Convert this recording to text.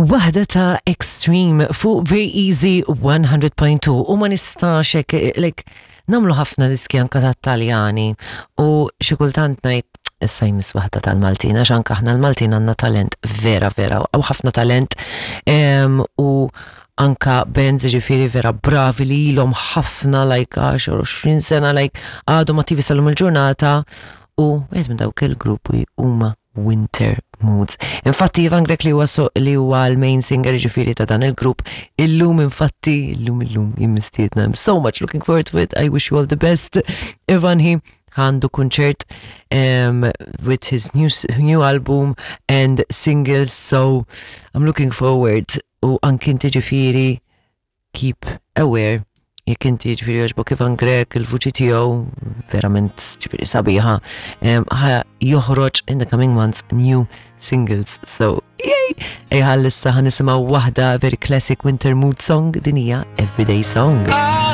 Waħda ta' Extreme fuq Very Easy 100.2 u ma nistax hekk like nagħmlu ħafna diski anka ta' Taljani u xi kultant ngħid issa jmiss waħda tal-Maltin għax anka aħna l-Maltin għandna talent vera vera u ħafna talent u anka bands ġifieri vera bravi li ilhom ħafna like 10 20 sena like għadhom attivi sal-lum il-ġurnata u wieħed minn dawk il-gruppi huma Winter Moods. Infatti Ivan Grech li huwa so, li huwa l-main singer ġifieri ta' dan il-grupp, illum infatti, illum illum jien mistiedna. I'm so much looking forward to it. I wish you all the best. Ivan he għandu kunċert um, with his new, new album and singles, so I'm looking forward u anki inti ġifieri keep aware jekk inti ġifieri jogħġbok Ivan Grech il-vuċi tiegħu verament ġifieri sabiħa ħa joħroġ in the coming months new singles. So, yay! Ejja issa ħa nisimgħu waħda very classic winter mood song din hija Everyday Song.